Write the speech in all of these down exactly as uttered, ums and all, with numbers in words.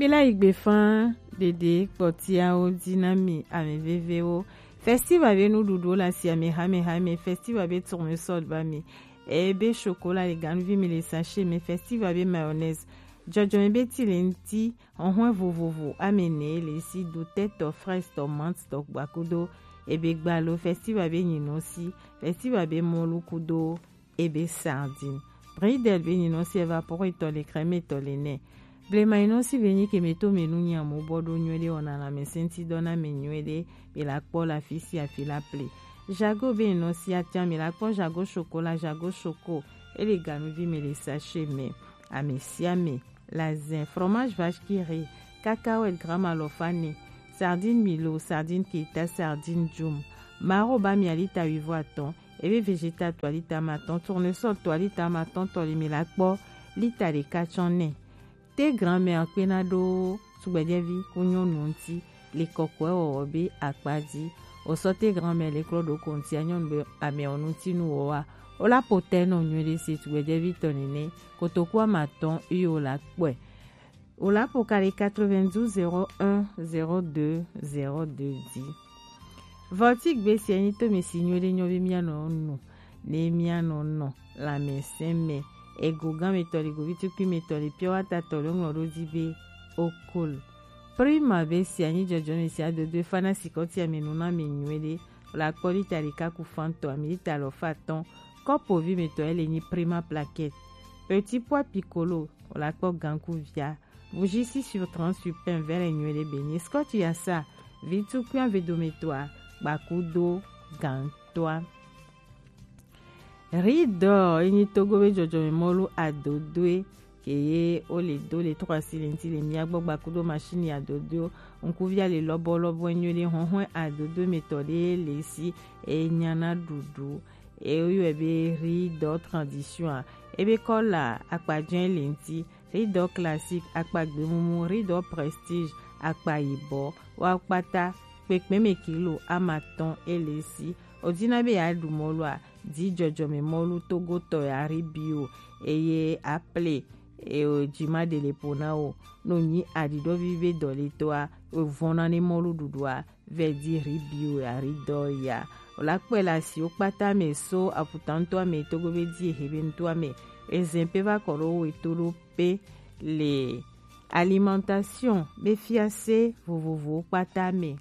Ela yi gbe fan ɖeɖe kpɔtiawo di na mi, ame vevewo. Festival be nuɖuɖuwo le asi ame hamehame, festival be tournesol ba mi. Ebe chocolat le ganuvi mi le sachet me, festival be mayonnaise. Jɔjɔme be ti le ŋti, hɔhɔe vovovo ame ene le si, dotɛ tɔ, fraise tɔ, menthe tɔ, gbakudo ebe gbalo, festival be nyinɔ si, festival be mɔlu kudo ebe sardine. Bridel be nyinɔ si, evapore tɔ le, crème tɔ le nɛ. Blema nyinɔ si be nyi ke me to me nu nyamo bɔ ɖo nyuie ɖe, wɔna lãmesẽ ŋti dɔ na me nyuie ɖe, be la kpɔ la fi si afi la ple. Jago be nyinɔ si, atia me la kpɔ jago chocolat, jago choco, ele ganuvi me le sachet me. Ame sia ame, lazin, fromage vache qui rit, cacahuète gramme alɔfa ene, sardine milo, sardine keta, sardine djum. Maro ba mi a lita wuivo atɔn, ebe végétal to a lita amatɔn, tournesol to a lita amatɔn tɔ le mi la kpɔ lita ɖeka tsɔ nɛ. Te grand-mère kpena ɖo tugbedzɛvi ku nyɔnu ŋti le kɔkɔe wɔwɔ be akpa ji. Osɔ te grand-mère le klɔ ɖo ko ŋti a nyɔnu be ame ɔ ŋti nu wɔ wa. O la po tɛ nɔ nyuie ɖe se tugbedzɛvi tɔ nene. Kotoku amatɔn yi o la kpɔe. O la po ka le quatre-vingt-douze zéro un zéro deux zéro deux dix. Vɔti gbe sia nyi to mi si nyuie ɖe nyɔ be mia nɔ nu ne mia nɔ nɔ lãmesẽ me. Ego gã me tɔ le, govi tukui me tɔ le, pure water tɔ le, ŋlɔ ɖo di be okol. Prima be sia nyi jɔjɔ me sia dodo e fa na sikɔti ame nu na me nyuie ɖe. La kpɔ lita ɖeka ku fan tɔ, ami lita alɔfa atɔn. Kɔpo vi me tɔ ele nyi Prima plaquette. Petit pois piccolo, la kpɔ ganku via. Bougie si sur trente sur pain vɛlɛ nyuie ɖe be nyi. Scotch ya sa, vi tukui ave do me tɔa, gbakudo gantɔa. Riz d'Or, enyi Togo be jɔjɔme mɔlu adodoe, ke ye o le do le trois cylindres le mia gbɔ gbakudo machine adodo, ŋkuvia le lɔbɔ lɔbɔ nyuie ɖe, hɔhɔe adodo me tɔ ɖe le si, e nyana ɖuɖu, e yɔe be riz d'Or tradition a, ebe kɔla akpajɛ le ŋti, riz d'Or classique akpa gbemumu, riz d'Or prestige akpa yibɔ, wa kpata kpekpe me kilo amatɔn ele si. O dina be ya ɖu mɔlu a, di jɔjɔme mɔlu togotɔ ya riz bio, eye aple, e o jima ɖe le po na o. No nyi aɖiɖɔvi be dɔletɔ a, o vɔna ne mɔlu ɖuɖu a, vɛ di riz bio ya riz d'Or ya. O la kpɔe le asiwo kpata me so aputa ŋutɔ ame togo be di ehe be ŋutɔ ame. Ezɛn pe va kɔ ɖo we to ɖo pe le alimentation be fiase vovovowo kpata me.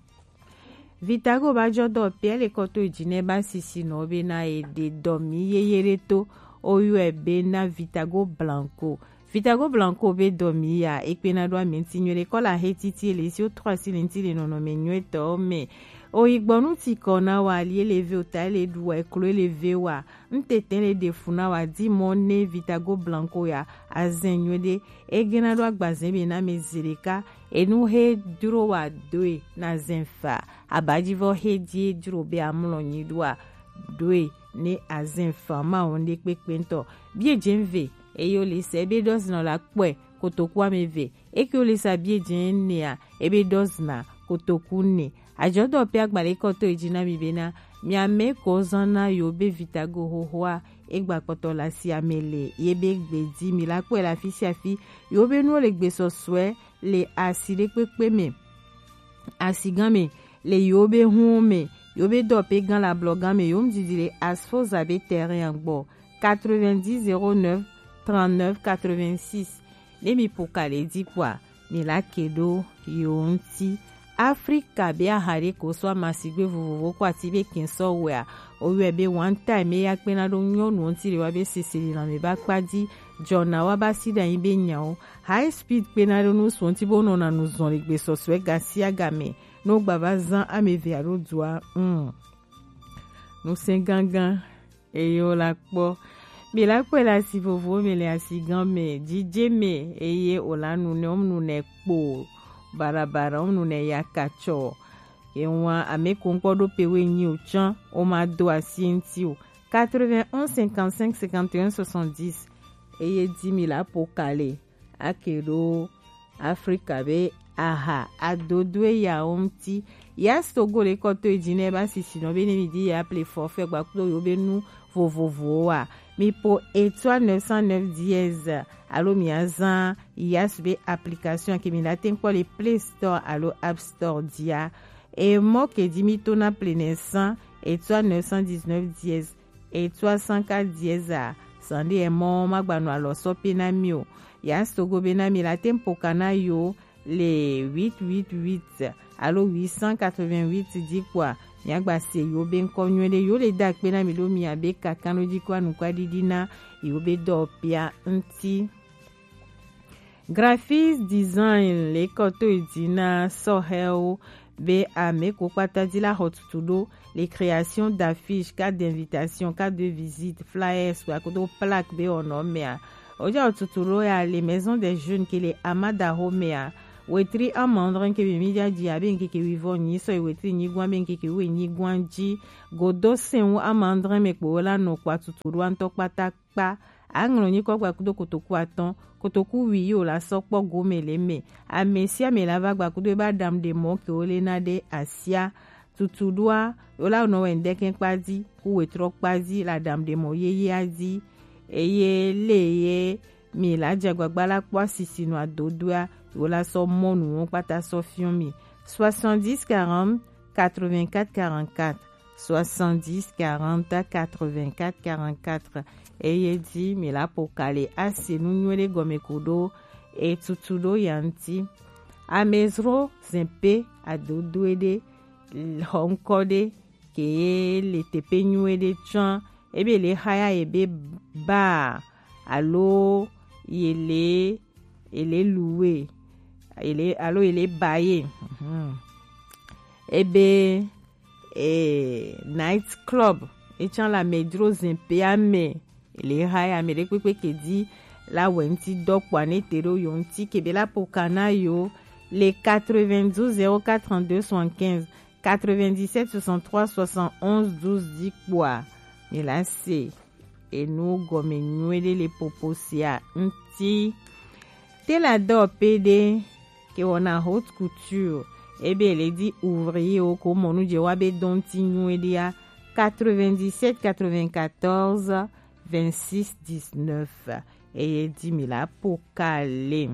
Vitago ba jɔ dɔ pia le kɔto ejinɛ ba sisi nɔ be na e de dɔ mi yeye ɖe to, o yɔe be na Vitago Blanco. Vitago Blanco be dɔ mi ya, e kpena ɖo ame ŋti nyuie ɖe, kɔla he titi le si o trɔ asi le ŋti le nɔnɔme nyuie tɔ me. O yi gbɔ nu ti kɔ na wa, ali ele ve o, ta ele ɖu wa, eklo ele ve wa, ŋtete le ɖe fu na wa, di mɔ ne Vitago Blanco ya, azɛn nyuie ɖe, e gena ɖo agbazɛn be na me zi ɖeka, enu he dro wa doe na zɛn fa, abajivɔ he di e dro be amlɔ nyi ɖoa, doe ne azɛn fa ma wo ŋɖe kpekpe ŋtɔ. Bie jɛn ve, eye o le sɛ be dɔ zinɔ la kpɔe, kotoku ame ve, eke o le sa bie jɛn nea, ebe dɔ zina kotoku ne. Ajɔdɔ pe agbalẽ kɔtɔ eji na mi bena, mi ame ko zan na yo be Vitago hohoa, egba kpɔtɔ la si ame le, ye be gbe di mi la kpɔe la fi sia fi, yo be nuwo le gbe sɔsɔe le asi ɖe kpekpe me. Asi gan me, le yo be hun me, yo be dɔ pe gan la blɔ gan me, yo mu didi le asfoza be terrain gbɔ, quatre-vingt-dix zéro neuf trente-neuf quatre-vingt-six. Ne mi po ka le di kpɔa, mi la ke ɖo yo ŋti. Afrika be aha ɖe ko sɔ amasigbe vovovo ko ati be kɛn sɔ wɛa, o yɔe be one time, eya kpena ɖo nyɔnu ŋti le wa be sese le lanme ba kpa di, jɔna wa ba si ɖe anyi be nyawo. High speed kpena ɖo nu sɔ ŋti bo nɔna nu zɔn le gbe sɔsɔe ga sia ga me, no gba va zan ame eve alo dua, mm. Nu sɛ gangan. Eye wo la kpɔ. Mi la kpɔe le asi vovowo me le asi gan me, jije me, eye wo la nu nɛ, wo mu nu nɛ kpo, barabara, wo mu nu nɛ yakatsɔ. Ewa ame ko ŋkpɔ ɖo pe wo nyi o tsã, wo ma do asi ŋti o. Quatre-vingt-onze cinquante-cinq cinquante et un soixante-dix. Eye di mi la po ka le. Ake ɖo Afrika be aha adodoe yawo ŋti. Yas Togo le kɔto eji ne ba sisi nɔ be ne mi di ya ple forfait gba kudo yo be nu vovovowo wa. Mi po étoile neuf cent neuf dièse alo mi a zan Yas be application ke mi la tɛnkpɔ le Play Store alo App Store dia. E mɔ ke di mi to na plenɛ san étoile neuf cent dix-neuf dièse étoile cent quatre dièse a. Sande e mɔ ma gba nɔ alɔ sɔ pe na mi o. Yas Togo be na mi la tɛnpo kana yo le huit huit huit alo huit cent quatre-vingt-huit di kpɔa, mi a gba se yo be nkɔ nyuie de yo le da kpe na mi do mi a be kakan do di kɔ anu kɔ didi na yo be dɔ pia nti. Graphics design le kɔ to yi di na sɔ hɛ o be ame ko kpata di la xɔ tutu do le création d'affiches, cartes d'invitation, cartes de visite, flyers, kpa kodo plaque be o nɔ mɛ a. O ja o tutu do ya le Maison des Jeunes ke le Amada ho mɛ a. Wetri amandrɛ ke be mi ja di a be nkeke wi vɔ nyi sɔ yi wetri nyi gwan be nkeke wi nyi gwan ji. Godo sen wu amandrɛ mɛ kpo la nɔ kpa tutu do antɔ kpata kpa. A ŋlɔ nyikɔ gba kudo kotoku atɔn, kotoku wi yi o la sɔ kpɔ gome le mɛ. Ame sia ame la va gba kudo e ba dam de mɔ ke o le na de asia. Tutu doa, o la nɔ wɛ ndɛkɛ kpa di, ku wetrɔ kpa di, la dam de mɔ yeye a di. Eye le ye mi la dze agbagba la kpɔ asisi nɔ adodoa, o la sɔ mɔ nu wo kpata sɔ fiɔ mi. Soixante-dix quarante quatre-vingt-quatre quarante-quatre. Soixante-dix quarante quatre-vingt-quatre quarante-quatre. Eye di mi la po kale ase nu nyuie de gɔme ko do e tutu do ya nti. Amezro zɛn pe adodo e de xɔ nkɔ de ke ye le tepe nyuie de tsɔn ebe le xaya ye be ba alo ye le ye le luwe ye le alo ye le ba ye. Mhm. Ebe eh, night club etsã le amedzro zɛn pea me le ha ya ame ɖe kpekpe ke di la wɛ ŋuti dɔ kpɔa ne te ɖo yo ŋuti ke be la poka na yo le quatre-vingt-douze zéro quatre trente-deux soixante-quinze, quatre-vingt-dix-sept soixante-trois soixante-onze douze di kpɔa mi la se enu gɔme nyuie ɖe le popo sia ŋuti. Te la dɔ pe ɖe ke wɔna haute couture ebe le di ouvrier wo ko mɔnu dze wa be dɔn ti nyuie ɖea quatre-vingt-dix-sept quatre-vingt-quatorze vingt-six dix-neuf. Eye di mi la po kale.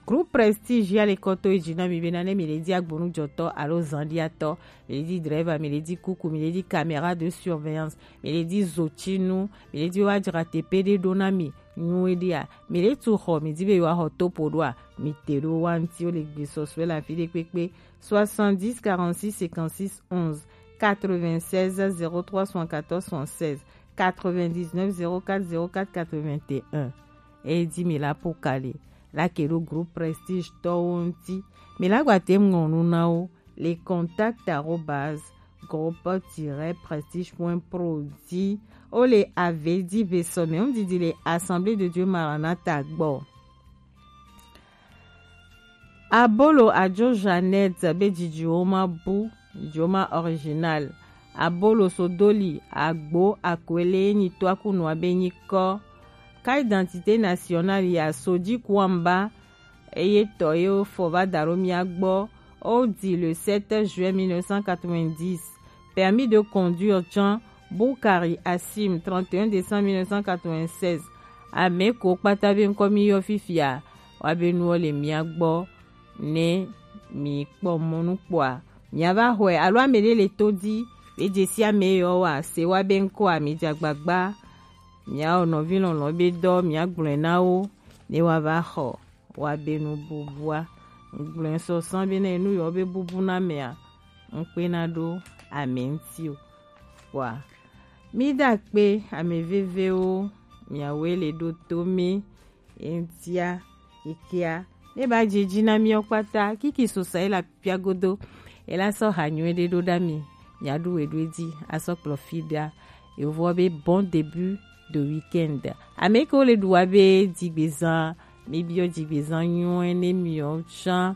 Groupe Prestige ya le kɔ to edzi na mi bena ne mi le di agbonujɔtɔ alo zanɖiatɔ, mi le di driver, mi le di kuku, mi le di caméra de surveillance, mi le di zotinu, mi le di wa dzra teƒe ɖe ɖo na mi nyuie ɖea, mi le tu xɔ, mi di be yewoaxɔ topo ɖoa, mi te ɖo wa ŋuti wo le gbesɔsɔe le afi ɖe kpekpe. Soixante-dix quarante-six cinquante-six onze, quatre-vingt-seize zéro trois soixante-quatorze soixante-seize, quatre-vingt-dix-neuf zéro quatre zéro quatre quatre-vingt-un. Eye di mi la po kale la ke ɖo groupe Prestige tɔwo ŋuti. Mi la gba te ŋlɔ nu na wo le contact arobase groupe tiret prestige point pro di. Wo le ave di ve sɔ mɛ ŋdidi le Assemblée de Dieu Maranatha gbɔ. Abolo ajo Jeannette be dzidziwo ma bu, dzidziwo ma original. Abolo sodoli agbo akwele nyi to akunua be nyi kɔ. Carte d'identité nationale ya sodi kuamba eye tɔ ye fɔ va da ɖo mia gbɔ. O di le sept juin mille neuf cent quatre-vingt-dix. Permis de conduire tsã Bukari Asim, trente et un décembre mille neuf cent quatre-vingt-seize. Ame ko kpata be ŋkɔ mi yɔ fifia wa be nuwo le mia gbɔ ne mi kpɔ mɔnu kpɔa mia va xɔe alo ame ɖe le to di be dzesi ame yɔ wa se wa be ŋkɔa mi dze agbagba mia wɔ nɔvi lɔlɔ be dɔ mia gblɔe na wo ne wa va xɔ wa be nu bubua. Ŋgblɔe sɔsɔ be ne nu yɔ be bubu na mea ŋkpe na ɖo ame ŋuti o. Kpɔa mi da kpe ame vevewo miawoe le ɖo to mi eŋtia kekea ne ba dze dzi na miawo kpata kiki sosa ye le apia godo ye la sɔ ha nyuie ɖe ɖo ɖa mi miaɖu we ɖo edzi asɔ kplɔ fi ɖa. Yevoa be bon début de week-end. Ame ke wo le ɖu wa be dzigbezã mi biɔ dzigbezã nyuie ne miawo tsã.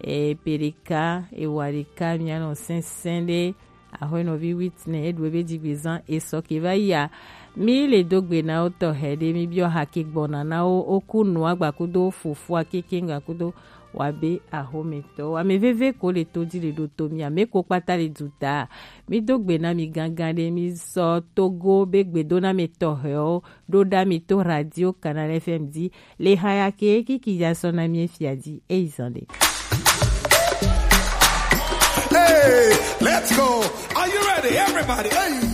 E pe ɖeka e wa ɖeka mianɔ sɛnsɛn ɖe. Axɔenɔvi Whitney eɖu ebe dzigbezã esɔ ke va yia Mi le do gbe na wo tɔxɛ ɖe, mi biɔ hake gbɔna na wo, wo ku nu agba kudo fofo akeke ŋga kudo wa be axometɔ. Ame veve ko le to di le ɖo to mi, ame ko kpata le du ta. Mi do gbe na mi gangan ɖe, mi sɔ Togo be gbedona me tɔxɛwo ɖo ɖa mi to radio Canal F M di. Le haya ke kiki ya sɔ na mi efia di, eyi zan ɖe. Hey, let's go. Are you ready, everybody? Hey.